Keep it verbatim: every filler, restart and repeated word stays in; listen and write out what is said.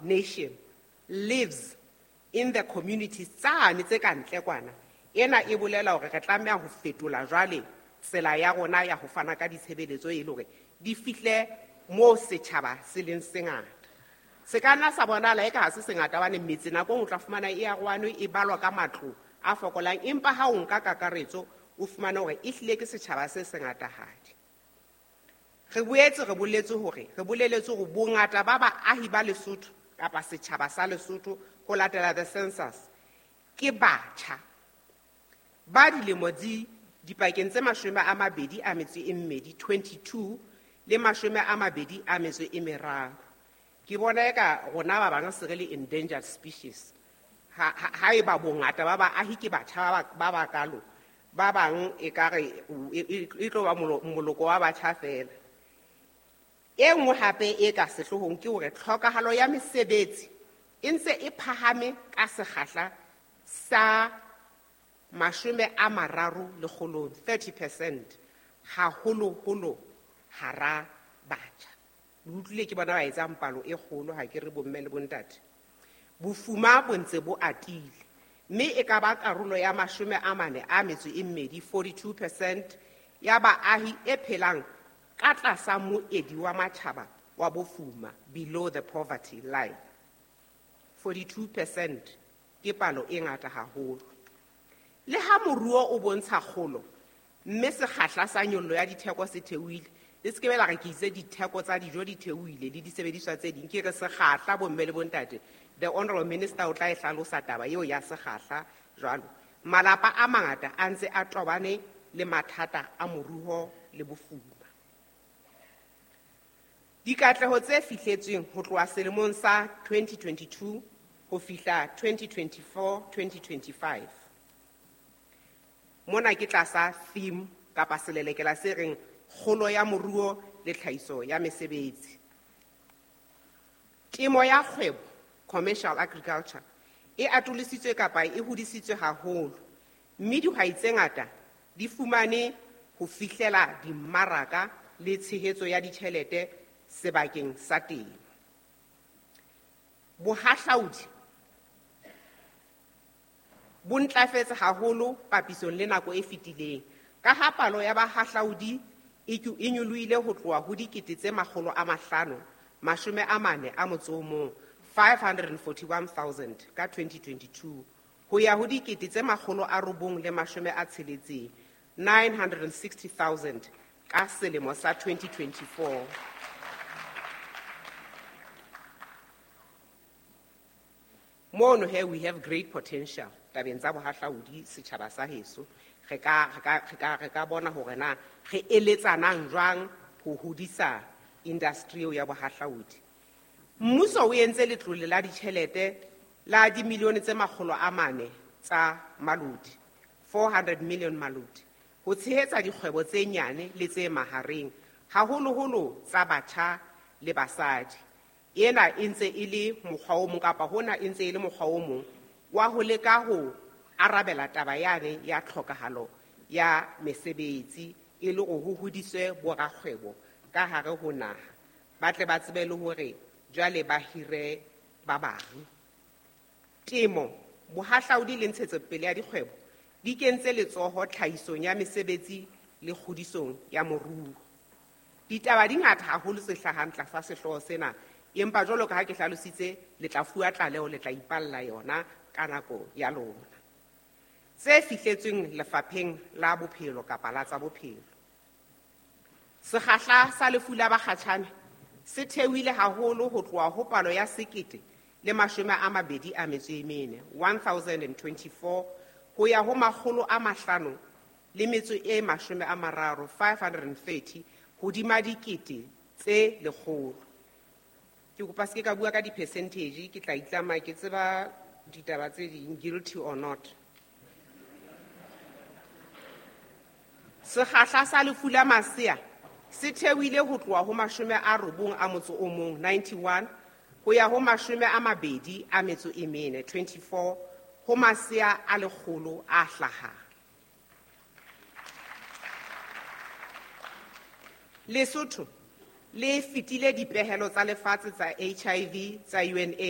nation lives in the communities tsane tse ka ntle kwana. Ena e bolela hore re tlameha ho fetola jwale tsela ya rona ya ho fana ka ditshebeletso e le hore di fihle moo setjhaba se leng sengata. Se ka nna sa bonahala eka ha se sengata hobane metse nako e nngwe o tla fumana e arohane e balwa ka matlo a fokolang, empa ha o nka kakaretso o fumane hore ehlile ke setjhaba se sengatahadi. Re boetse re boletse hore re boleletse hore bongata ba baahi ba Lesotho kapa setjhaba sa Lesotho ho latela the census ke batjha ba dilemo di dipakeng tse mashome a mabedi a metso e mmedi, twenty-two le mashome a mabedi a metso e meraro. Ke bona eka rona ba bang se re le endangered species. Ha, ha, haeba bongata ba baahi ke batjha ba, ba bakalo, ba bang ekare e, e, e tlo ba molo-, moloko wa batjha feela. E nngwe hape e ka sehloohong ke hore tlhokahalo ya mesebetsi e ntse e phahame ka sekgahla sa mashome a mararo lekgolong, thirty percent, haholoholo hara batjha. Le utlwile ke bona ba etsang palo e kgolo, ha ke re bomme le bontate. Bofuma bo ntse bo atile, mme e ka ba karolo ya mashome a mane a metso e mmedi, forty-two percent, ya baahi e phelang ka tlasa moedi wa matjhaba wa bofuma, below the poverty line. forty-two percent ke palo e ngata haholo. Le ha moruo o bontsha kgolo, mme sekgahla sa nyollo ya ditheko se theohile, le se ke be la re ke itse ditheko tsa dijo di theohile le disebediswa tse ding, ke re sekgahla bomme le bontate. The Honorable Minister o tla e hlalosa taba eo ya sekgahla jwalo. Malapa a mangata a ntse a tobane le mathata a moruo le bofuma. Dikatleho tse fihletsweng ho tloha selemong sa twenty twenty-two ho fihla twenty twenty-four, twenty twenty-five. Mona ke tlasa theme kapa selelekela se reng kgolo ya moruo le tlhahiso ya mesebetsi. Temo ya kgwebo, commercial agriculture, e atolositswe kapa e hodisitswe haholo, mme dihwai tse ngata di fumane ho fihlela dimmaraka le tshehetso ya ditjhelete sebakeng sa temo. Bohahlaudi bo ntlafetse haholo papisong le nako e fetileng, ka ha palo ya bahahlaudi e ke-, e nyolohile ho tloha ho dikete tse makgolo a mahlano, mashome a mane a motso o mong, five hundred and forty-one thousand ka twenty twenty-two, ho ya ho dikete tse makgolo a robong le mashome a tsheletseng, nine hundred and sixty thousand ka selemo sa twenty twenty-four. Mono here we have great potential tabeng tsa bohahlaudi setjhaba sa heso. Re ka, re ka, re ka, re ka bona hore na re eletsanang jwang ho hodisa industry eo ya bohahlaudi. Mmuso o entse letlole la ditjhelete la dimilione tse makgolo a mane tsa malodi, four hundred million malodi, ho tshehetsa dikgwebo tse nyane le tse mahareng, haholoholo tsa batjha le basadi. Ena e ntse e le mokgwa o mong kapa hona e ntse e le mokgwa o mong wa ho leka ho arabela taba yane ya tlhokahalo ya mesebetsi e le hore ho hodiswe borakgwebo ka hare ho naha, ba tle ba tsebe le hore jwale ba hire ba bang. Temo, bohahlaudi le ntshetsopele ya dikgwebo di kentse letsoho tlhahisong ya mesebetsi le kgodisong ya moruo. Ditaba di ngata haholo tse hlahang tlasa sehlooho sena, empa jwalo ka ha ke hlalositse, le tla fuwa tlaleho, le tla ipalla yona ka nako ya lona. Tse fihletsweng lefapheng la bophelo kapa la tsa bophelo. Sekgahla sa lefu la bakgatjhane se theohile haholo ho tloha ho palo ya sekete le mashome a mabedi a metso e mene, one thousand and twenty-four, ho ya ho makgolo a mahlano le metso e mashome a mararo, five hundred and thirty, hodima dikete tse lekgolo. Ke kopa se ke ka bua ka di-percentage, ke tla itlama ke tseba ditaba tse ding, guilty or not. Sekgahla sa lefu la masea se theohile ho tloha ho mashome a robong a motso o mong, ninety-one, ho ya ho mashome a mabedi a metso e mene, twenty-four, ho masea a lekgolo a hlahang. Lesotho le fetile dipehelo tsa lefatshe tsa H I V tsa U N AIDS.